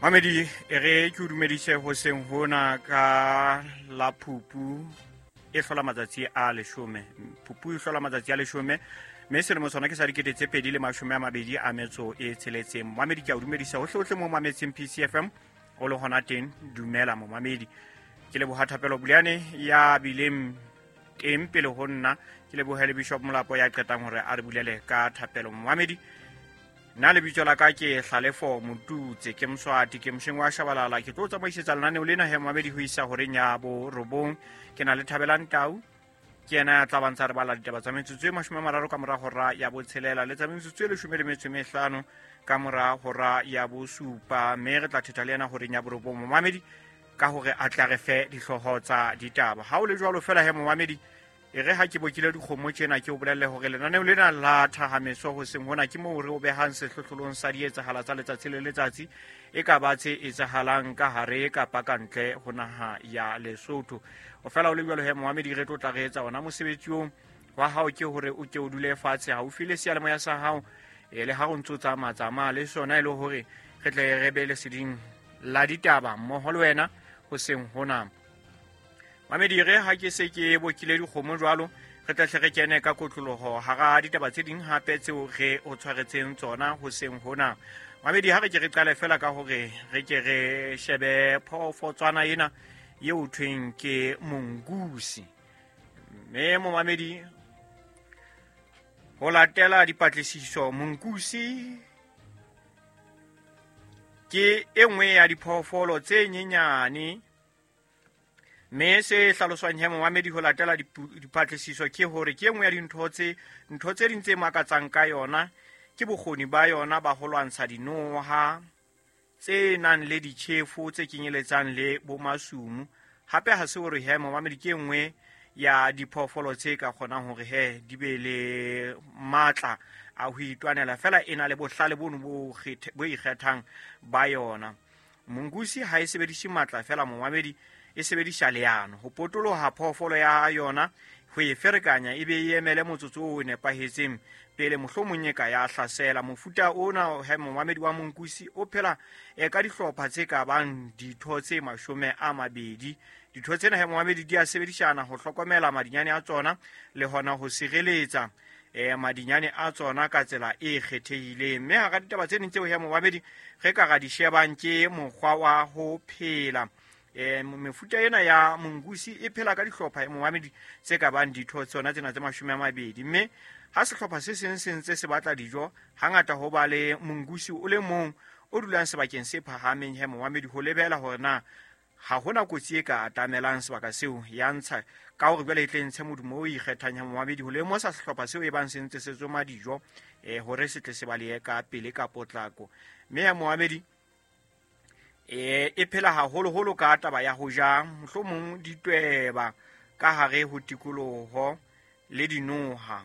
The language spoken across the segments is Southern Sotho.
Mamedi, e re ke o dumedise hoseng hona ka la Phupu e hlola matsatsi a 10. Phupu e hlola matsatsi a 10, mme selemo sona ke sa 2026. Mamedi, ke a o dumedisa hohle mo mametseng PCFM o le hona teng. Dumela momamedi. Ke leboha Thapelo Buleane ya bileng teng pele ho nna, ke lebohe le Bishop Molapo ya qetang hore a re bulele ka thapelo. Momamedi, nna lebitso la ka ke Hlalefo Motutse, ke Moswati, ke mosheng wa Shabalala. Ke tlo tsamaisetsa lenaneo lena he momamedi ho isa horeng ya 9. Ke na le Thabelang Tau, ke yena ya tla bantsa re bala ditaba tsa metsotso e 30 ka mora hora ya 6 le tsa metsotso e 15 ka mora hora ya 7, mme re tla thetha le yena horeng ya 9 momamedi ka hore a tla re fe dihlooho tsa ditaba. Ha o le jwalo fela he momamedi, e re ha ke bokile dikgomo tjena, ke o bolelle hore lenaneo lena la Thahameso hoseng hona ke moo re o behang sehlohlolong sa dietsahala tsa letsatsi le letsatsi, e ka ba tse etsahalang ka hare kapa ka ntle ho naha ya Lesotho. O fela o le jwalo he momamedi, re tlo tla re etsa ona mosebetsi oo wa hao ke hore o ke o dule fatshe haufi le seyalemoya sa hao, e le ha o ntso tsamaya le sona, e le hore re tle re be leseding la ditaba mmoho le wena hoseng hona. Mamedi, re ha ke se ke bokile dikgomo jwalo, re tla hle re kene ka kotloloho hara ditaba tse ding hape tseo re o tshwaretseng tsona hoseng hona. Mamedi, ha re ke re qale fela ka hore re ke re shebe phoofotswana ena eo thweng ke mongoose. Mme momamedi, ho latela dipatlisiso, mongoose ke e nngwe ya diphoofolo tse nyenyane, mme se hlaloswang he momamedi ho latela dipatlisiso ke hore ke e nngwe ya dintho tse ding tse makatsang ka yona ke bokgoni ba yona ba ho lwantsha dinoha tse nang le ditjhefo tse kenyeletsang le bomasumu. Hape ha se hore he momamedi ke e nngwe ya diphoofolo tse ka kgonang hore he di be le matla a ho itwanela, fela e na le bohlale bono bo ikgethang ba yona. Mongoose ha e sebedise matla fela momamedi, e sebedisa leano ho potoloha phoofolo ya yona, ho e ferekanya e be e emele motsotso o nepahetseng pele mohlomong e ka ya hlasela. Mofuta ona he momamedi wa mongoose o phela ka dihlopha tse ka bang ditho tse 20. Ditho tsena he momamedi di a sebedisana ho hlokomela madinyane a tsona le hona ho sireletsa madinyane a tsona ka tsela e kgethehileng. Mme hara ditaba tse ding tseo he momamedi re ka ra di shebang ke mokgwa wa ho phela. Mefuta ena ya mongoose e phela ka dihlopha momamedi tse ka bang ditho tsona tsena tse 20, mme ha sehlopha se seng se ntse se batla dijo, hangata ho ba le mongoose o le mong o dulang sebakeng se phahameng he momamedi ho lebela hore na ha hona kotsi e ka atamelang sebaka seo ya ntsha, ka hore jwale e tle ntshe modumo o ikgethang ya momamedi ho lemosa sehlopha seo e bang se ntse se tsoma dijo, hore se tle se balehe ka pele ka potlako. Mme ya momamedi e phela haholoholo ka taba ya ho ja mohlomong ditweba ka hare ho tikoloho le dinoha.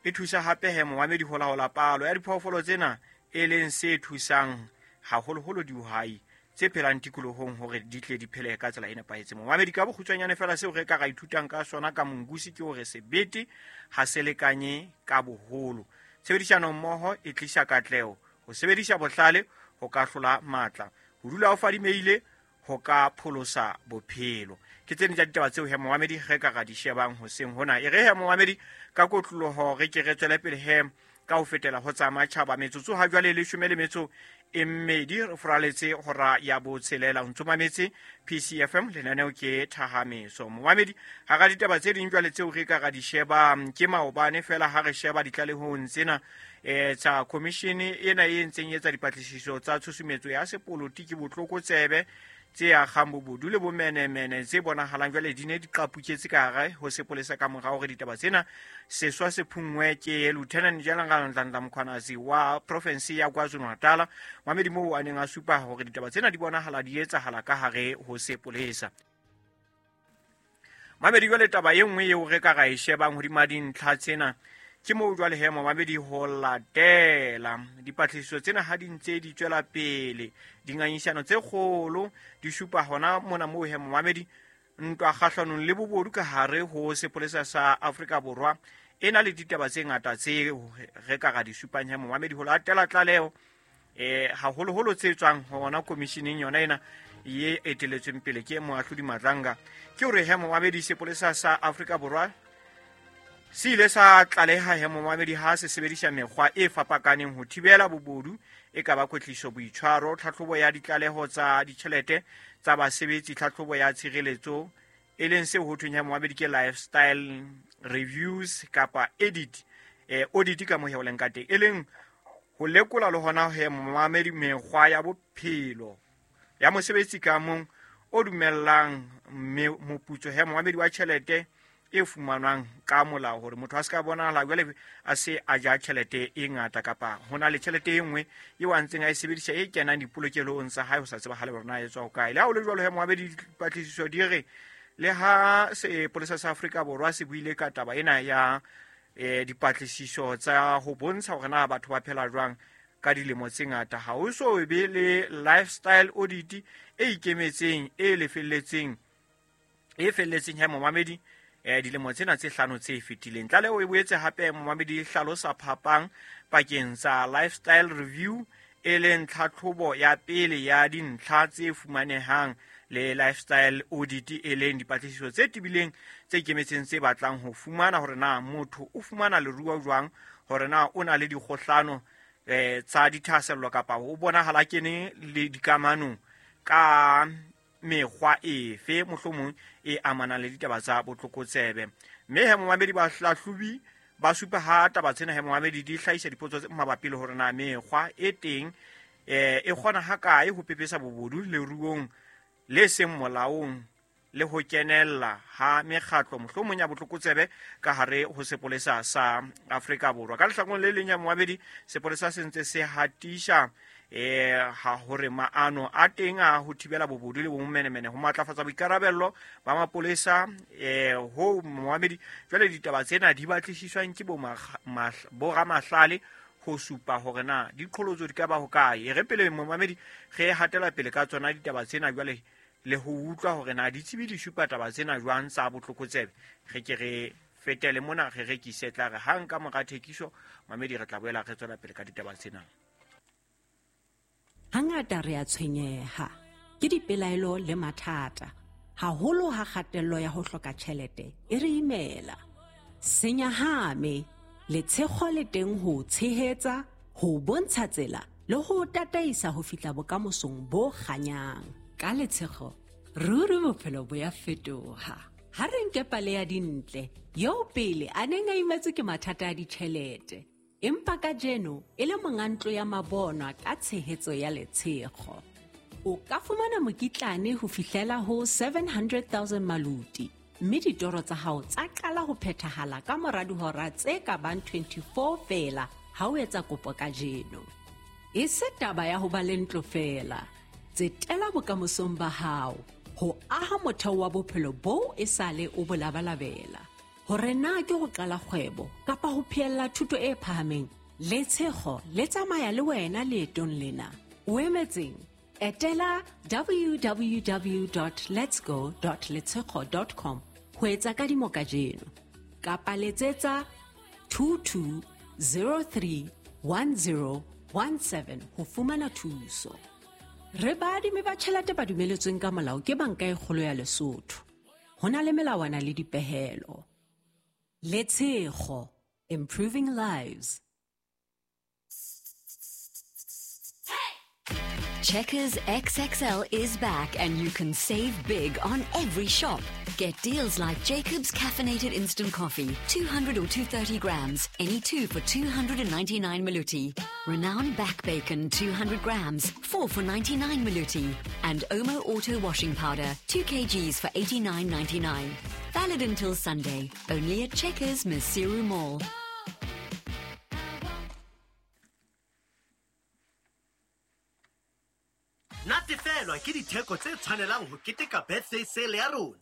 E thusa hape he momamedi ho laola palo ya diphoofolo tsena, e leng se thusang haholoholo dihwai tse phelang tikolohong hore di tle di phele ka tsela e nepahetseng. Momamedi, ka bokgutshwanyane fela seo re ka ra ithutang ka sona ka mongoose ke hore sebete ha se lekanye ka boholo. Tshebedisano mmoho e tlisa katleho, ho sebedisa bohlale ho ka hlola matla, ho dula o fadimeile ho ka pholosa bophelo. Ke tse ding tsa ditaba tseo he momamedi re ka ra di shebang hoseng hona. E re he momamedi ka kotloloho re ke re tswele pele he ka ho fetela ho tsa matjhaba. Metsotso ha jwale 12 re furaletse hora ya 6. O ntso mametse PCFM, lenaneo ke Thahameso. Momamedi, hara ditaba tse ding jwale tseo re ka ra di shebang ke maobane fela ha re sheba ditlalehong tsena tsa commission ena e ntseng etsa dipatlisiso tsa tshusumetso ya sepolotiki, botlokotsebe tse akgang bobodu le bomenemene tse bonahalang jwale di ne di qapuketse ka hare ho sepolesa ka mora hore ditaba tsena seswa se phunngwe ke Lieutenant General Nhlanhla Mkhwanazi wa province ya KwaZulu-Natal. Mamedi moo a neng a supa hore ditaba tsena di bonahala di etsahala ka hare ho sepolesa. Mamedi, jwale taba e nngwe eo re ka ra e shebang hodima dintlha tsena ke moo jwale he momamedi ho latela dipatlisiso tsena ha di ntse di tswela pele, dingangisano tse kgolo di supa hona mona moo he momamedi ntwa kgahlanong le bobodu ka hare ho sepolesa sa Afrika Borwa e na le ditaba tse ngata tse re ka ra di supang he momamedi ho latela tlaleho. Haholoholo tse tswang hona commissioning yona ena ye eteletsweng pele ke moahlodi Madlanga. Ke hore he momamedi, sepolesa sa Afrika Borwa se ile sa tlaleha he momamedi ha se sebedisa mekgwa e fapakaneng ho thibela bobodu, e ka ba kwetliso, boitshwaro, tlhatlhobo ya ditlaleho tsa ditjhelete tsa basebetsi, tlhatlhobo ya tshireletso, e leng seo ho thweng he momamedi ke lifestyle reviews kapa edit audit ka mohe o leng ka teng, e leng ho lekola le hona he momamedi mekgwa ya bophelo ya mosebetsi ka mong o dumellang moputso he momamedi wa tjhelete e fumanwang ka molao, hore motho a se ka bonahala jwale a se a ja tjhelete e ngata kapa ho na le tjhelete e nngwe eo a ntseng a e sebedisa e kenang dipolokelong tsa hae ho sa tsebahale hore na e tswa hokae. Le ha ho le jwalo he momamedi, dipatlisiso di re le ha sepolesa sa Afrika Borwa se buile ka taba ena ya dipatlisiso tsa ho bontsha hore na batho ba phela jwang ka dilemo tse ngata, ha ho so be le lifestyle audit e ikemetseng e lefelletseng e felletseng he momamedi dilemo tsena tse hlano tse fetileng. Tlaleho e boetse hape momamedi e hlalosa phapang pakeng tsa lifestyle review, e leng tlhatlhobo ya pele ya dintlha tse fumanehang, le lifestyle audit, e leng dipatlisiso tse tebileng tse ikemetseng tse batlang ho fumana hore na motho o fumana leruo jwang, hore na o na le dikgohlano tsa dithahasello kapa o bonahala kene le dikamanong ka mekgwa efe mohlomong e amanang le ditaba tsa botlokotsebe. Mme he momamedi, bahlahlobi ba supa ha taba tsena he momamedi di hlahisa dipotso tse mabapi le hore na mekgwa e teng e kgona hakae ho pepesa bobodu leruong le seng molaong le ho kenella ha mekgatlo mohlomong ya botlokotsebe ka hare ho sepolesa sa Afrika Borwa. Ka lehlakoreng le leng ya momamedi, sepolesa se ntse se hatisha ha hore maano a teng a ho thibela bobodu le bomenemene ho matlafatsa boikarabello ba mapolesa ho momamedi. Jwale ditaba tsena di batlisiswang ke boramahlale ho supa hore na diqholotso di ka ba hokae. E re pele momamedi re hatela pele ka tsona ditaba tsena jwale le ho utlwa hore na ditsebi di supa taba tsena jwang tsa botlokotsebe, re ke re fetele mona re rekise, tla re hang ka mora thekiso mamedi re tla boela re tswela pele ka ditaba tsena. Hangata re a tshwenyeha ke dipelaelo le mathata, haholo ha kgatello ya ho hloka tjhelete e re imela. Senyahame, letshego le teng ho tshehetsa, ho bontsha tsela le ho tataisa ho fihla bokamosong bo kganyang. Ka letshego, ruri bophelo bo ya fetoha. Ha re nke pale ya Dintle, eo pele a neng a imetswe ke mathata a ditjhelete, empa kajeno e le monga ntlo ya mabonwa ka tshehetso ya letshego. O ka fumana mokitlane ho fihlela ho 700,000 maluti, mme ditoro tsa hao tsa qala ho phethahala ka mora dihora tse ka bang 24 feela ha o etsa kopo kajeno. E se taba ya ho ba le ntlo feela, tsetela bokamosong ba hao ho aha motheo wa bophelo boo e sale o bo labalabela. Hore na ke ho qala kgwebo kapa ho phehella thuto e phahameng, letshego le tsamaya le wena leetong lena. O emetseng? Etela www.letsgo.letshego.com ho etsa kadimo kajeno, kapa letsetsa 22031017 ho fumana thuso. Re baadimi ba tjhelete ba dumeletsweng ka molao ke Banka e Kgolo ya Lesotho. Ho na le melawana le dipehelo. Letshego, improving lives. Checkers XXL is back and you can save big on every shop. Get deals like Jacob's Caffeinated Instant Coffee, 200 or 230 grams, any two for 299 Maluti. Renown Back Bacon, 200 grams, 4 for 99 Maluti. And Omo Auto Washing Powder, 2 kgs for 89.99. Valid until Sunday, only at Checkers Maseru Mall. Natefelwa ke ditheko tse tshwanelang ho keteka birthday sale ya rona.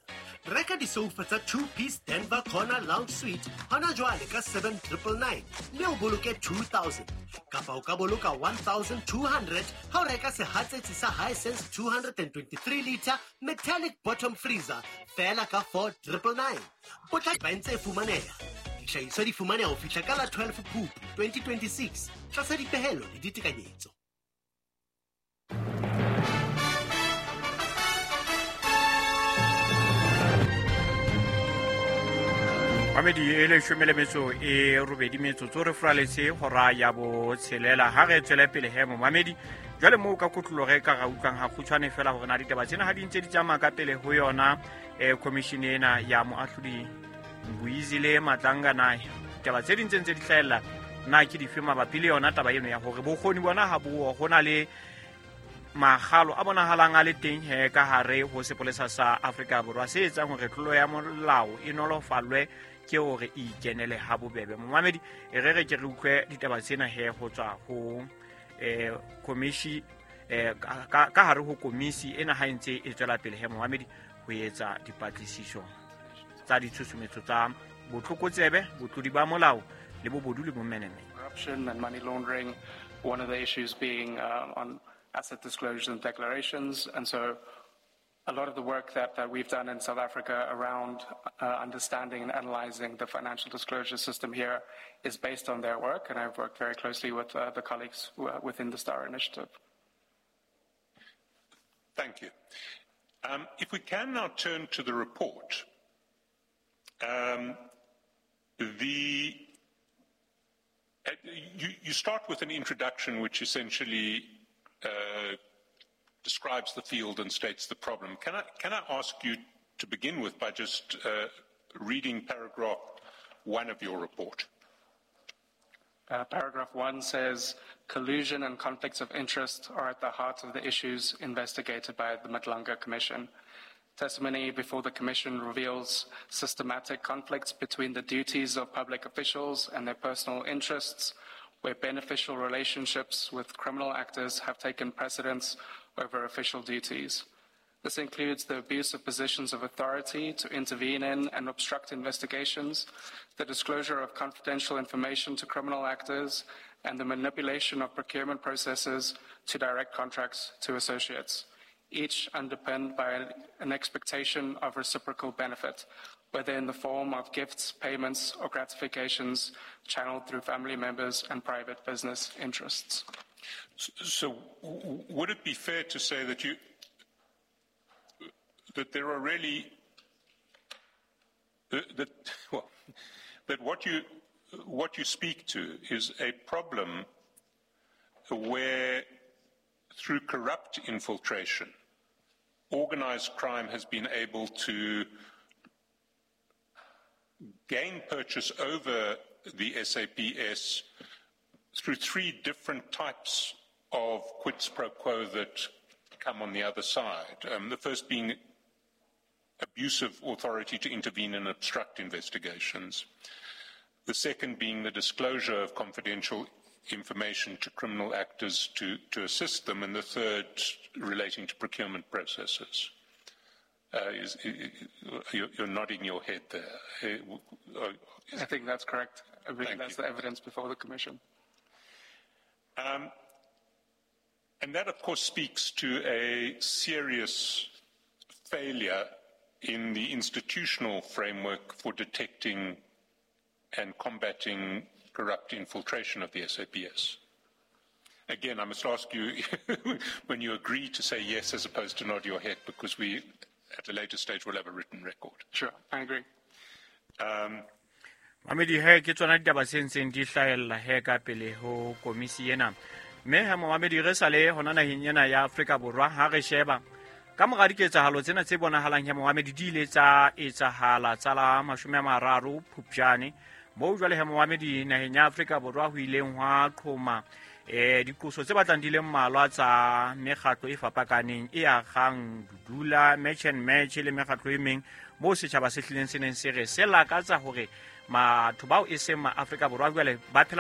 Reka disoufa tsa 2-piece Denver Corner Lounge Suite hona jwale ka 7999 mme o boloke 2000, kapa o ka boloka 1200 ha o reka sehatsetsi sa Hisense 223 liter metallic bottom freezer feela ka 4999. Potla ba ntse e fumaneha. Dihlahiswa di fumaneha ho fihla ka la 12 Phupu 2026 tlasa dipehelo le ditekanyetso. Mamedi e 18 metsotso re furaletse hora ya 6. Ha re tswele pele he momamedi, jwale moo ka kotloloho re ka ra utlwang ha kgutshwane fela hore na ditaba tsena ha di ntse di tsamaya ka pele ho yona commission ena ya moahlodi Mbuyisile Madlanga, na ditaba tse ding tse ntse di hlahella na ke dife mabapi le yona taba eno ya hore bokgoni bona ha bo ho na le makgalo a bonahalang a le teng he ka hare ho sepolesa sa Afrika Borwa se etsang hore tlolo ya molao e nolofallwe ke hore e ikenele ha bobebe. Momamedi, e re re ke re utlwe ditaba tsena he ho tswa ho komisi ka hare ho komisi ena ha e ntse e tswela pele he momamedi ho etsa dipatlisiso tsa ditshusumetso tsa botlokotsebe, botlodi ba molao le bobodu le bomenemene. Corruption and money laundering, one of the issues being on asset disclosures and declarations. And so a lot of the work that we've done in South Africa around understanding and analyzing the financial disclosure system here is based on their work, and I've worked very closely with the colleagues within the STAR initiative. Thank you. If we can now turn to the report, you start with an introduction which essentially describes the field and states the problem. Can I ask you to begin with by just reading paragraph 1 of your report? Paragraph 1 says, collusion and conflicts of interest are at the heart of the issues investigated by the Madlanga Commission. Testimony before the Commission reveals systematic conflicts between the duties of public officials and their personal interests, where beneficial relationships with criminal actors have taken precedence over official duties. This includes the abuse of positions of authority to intervene in and obstruct investigations, the disclosure of confidential information to criminal actors, and the manipulation of procurement processes to direct contracts to associates, each underpinned by an expectation of reciprocal benefit, whether in the form of gifts, payments, or gratifications channeled through family members and private business interests. So would it be fair to say that that there are really, that what you speak to is a problem where through corrupt infiltration, organized crime has been able to gain purchase over the SAPS through three different types of quid pro quo that come on the other side. The first being abuse of authority to intervene and obstruct investigations. The second being the disclosure of confidential information to criminal actors to assist them, and the third relating to procurement processes. You're nodding your head there. I think that's correct. I think that's the evidence before the Commission. And that, of course, speaks to a serious failure in the institutional framework for detecting and combating corrupt infiltration of the SAPS. Again, I must ask you when you agree to say yes as opposed to nod your head, because we, at a later stage, will have a written record. Sure, I agree. Mamedi he ke tsona ditaba tse ntseng di hlahella he ka pele ho komisi ena. Mme ha momamedi re sale hona naheng ena ya Afrika Borwa ha re sheba ka mora diketsahalo tsena tse bonahalang he momamedi di ile tsa etsahala tsa la 30 Phupjane moo jwale he momamedi naheng ya Afrika Borwa ho ileng hwa qhoma diqoso tse batlang di le mmalwa tsa mekgatlo e fapakaneng e agang Dudula, Match and Match le mekgatlo e meng moo setjhaba se hlileng se neng se re se lakatsa hore batho bao e seng ma Afrika Borwa jwale ba phela